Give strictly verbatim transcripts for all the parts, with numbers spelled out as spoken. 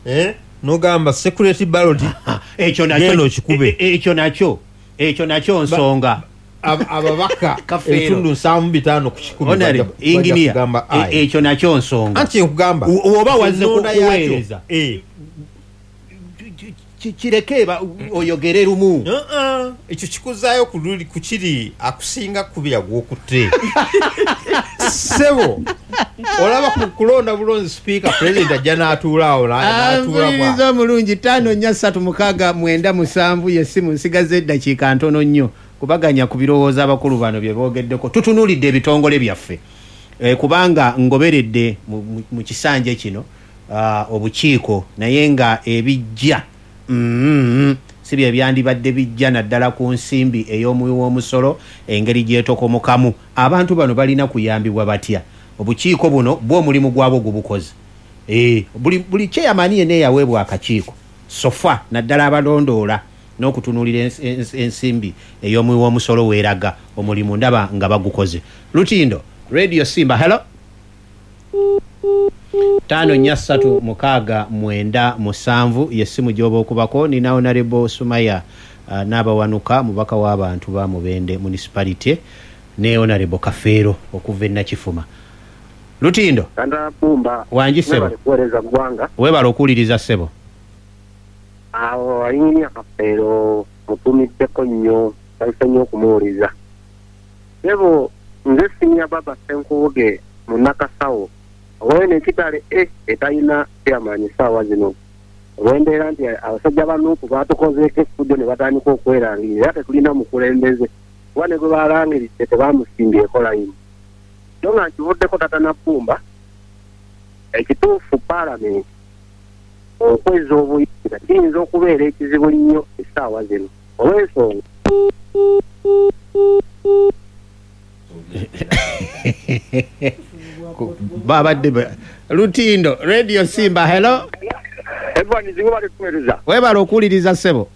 Eh? Nogamba security ballot. Ekyo genda nakyo okikube. e- e- ekyo nakyo ekyo nakyo nsonga. Ab- ababaka Kafeero. ebitundu nsanvu mu bitaano ku kikumi Honorable, bajja- bajja engineer, kugamba e- aye. ekyo nakyo nsonga. Anti nkugamba O- oba wazze ennonda yakyo, kuweereza. eh, Ki- kireke ba- oyogere lumu. Uh-uh. Ekyo kikuzaayo ku luli ku kiri akusinga kubira gwokutte, ssebo. Olaba ku kulonda bulonzi sipiika, pulezidenti ajja n'atuula awo na- n'atuula bwa Mpuliriza omulungi, ttaano nnya ssatu mukaaga mwenda musanvu yessimu. Nsigaza eddakiika ntono nnyo kubaganya ku birowoozo abakulu bano bye boogeddeko. Tutunuulidde ebitongole byaffe, e, kubanga ngoberedde mu, mu, mu kisanja kino uh, obukiiko, naye nga ebijja mm, si bye byandibadde bijja, naddala ku nsimbi ey'omuwi w'omusolo, engeri gyetokomokamu. Abantu bano balina kuyambibwa batya? Obukiiko buno bwo omulimu gwabwo gubukoze. Eh, buli buli chairman yenna eyaweebwa akakiiko so far, naddala abalondoola n'okutunuulira ens- ens- ensimbi ey'omuwi w'omusolo weeraga, omulimu ndaba nga bagukoze. Lutindo Radio Simba, hello. Ttaano nnya ssatu mukaaga mwenda musanvu yessimu gy'oba okubako. Nina Honorable Sumaya uh, n'abawanuka, mubaka w'abantu ba Mubende Municipality, ne Honorable Kafeero okuva e Nakifuma. Lutindo. Kanda Pumba. Wangi, ssebo. Webale kuweereza ggwanga. Weebale okuwuliriza, ssebo. Awo ayinginia Kafeero mutumiddeko nnyo, nsanyuse nnyo okumuwuliza. Ssebo, nze Sinya Baba Ssenkubuge Munnakasawo owene ekitale e etalina chairman essaawa zino, olw'embeera nti abasajja ba Nuupu baatukozeeko effujjo ne batandika okwerangirira, era tetulina mukulembeze, kuba ne gwe balangiridde tebamusimbyeko layini. So nga nkivuddeko, tata Nabbumba, ekituufu paalamenti okweza obuyinza kiyinza okubeera ekizibu nnyo essaawa zino olw'ensonga Ku- babadde ba- Lutindo Radio Simba, hello. Evans, webale kuweereza. Weebale okuwuliriza, ssebo.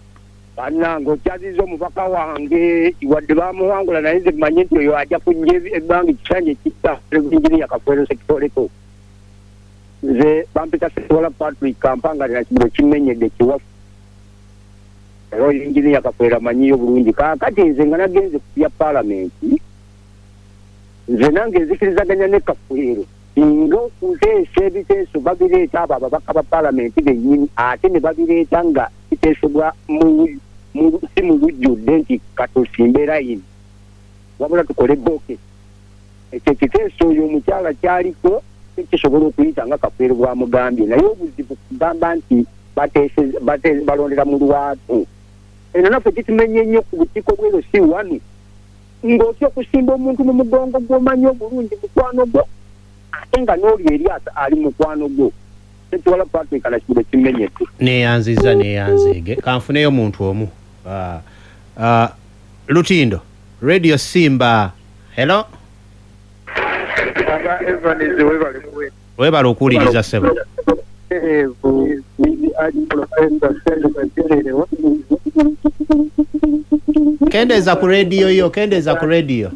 Bannange, okyaziza omubaka wange, wadde bamuwangula, naye nze mmanyi nti oyo ajja kujja ebbanga ekisanja ekitta Engineer Kafeero Sekitoleko. Nze bampita Sewala Patrick Kampanga Nakibiro kimenyedde kiwafu, era oyo Engineer Kafeero amanyiyo bulungi. Kaakati nze nga nagenze ku bya paalamenti, nze nange nzikirizaganya ne Kafeero singa okuteesa ebiteeso babireeta abo ababaka ba paalamenti bennyini, ate ne babireeta nga biteesebwa mu mu- si mu lujjudde nti katusimbe layini, wabula tukole boke. Ekyo ekiteeso oyo omukyala kyaliko kisobola okuyita nga Kafeero bwamugambye, naye obuzibu kugamba nti bateeseza- bate- balondera mu lwatu. Eno naffe kitumenye nnyo ku bukiiko bwero si wano, ng'otya okusimba omuntu mu mugongo gw'omanyi obulungi, mukwano gwo, ate nga n'oli eri ata- ali mukwano gwo. Sekiwala Patrick Nakibiro kimenyedde. Neyanziza, neyanzeege. Kanfuneyo muntu omu. Ah, ah, Lutindo Radio Simba, hello. Aba Evans, webale kuweereza. Weebale okuwuliriza, ssebo. Kendeeza ku rediyo yo, kendeeza ku rediyo.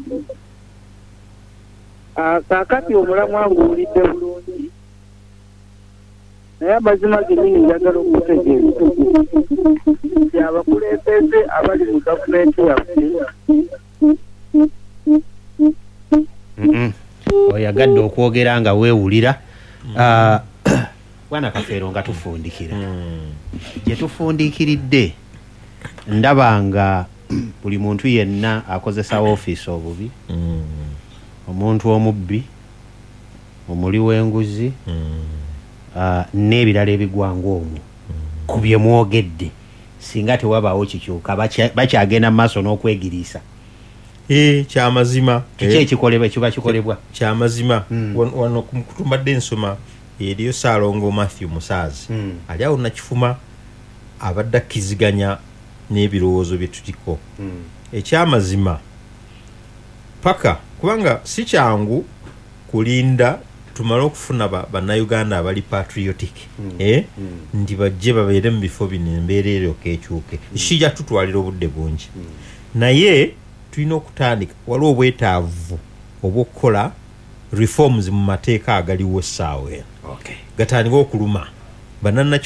Kaakati omulamwa nguwulidde bulungi, naye amazima gennyini njagala okutegeeza nti abakulembeze abali mu gavumenti yaffe Mm-mm. Oyagadde okwogera nga weewulira. Ah, bwana Kafeero, nga tufundikira gye tufundikiridde, ndaba nga buli muntu yenna akozesa ofiisi obubi, omuntu omubbi, omuli w'enguzi, ah, n'ebirala ebigwanga omwo ku bye mwogedde, singa tewabaawo kikyuka bakya- bakyagenda mu maaso n'okwegiriisa. Eh, kyamazima. Kiki Eh, ekikolebwa kiba kikolebwa? Kyamazima. Mm. Wano wano ku kutumbadde ensoma eriyo Saalongo Matthew Musaazi Mm. ali awo Nakifuma, abadde akkiziganya n'ebirowoozo bye tuliko. Ekyamazima paka kubanga si kyangu kulinda tumale okufuna ba- bannayuganda abali patriotic Mm. eh? Mm. Nti bajje babeere mu bifo bino, embeera eryoka ekyuke, kijja tutwalira obudde bungi, naye tulina okutandika. Waliwo obwetaavu obw'okukola reforms mu mateeka agaliwo essaawa eno Okay. gatandike okuluma bannanakifuma.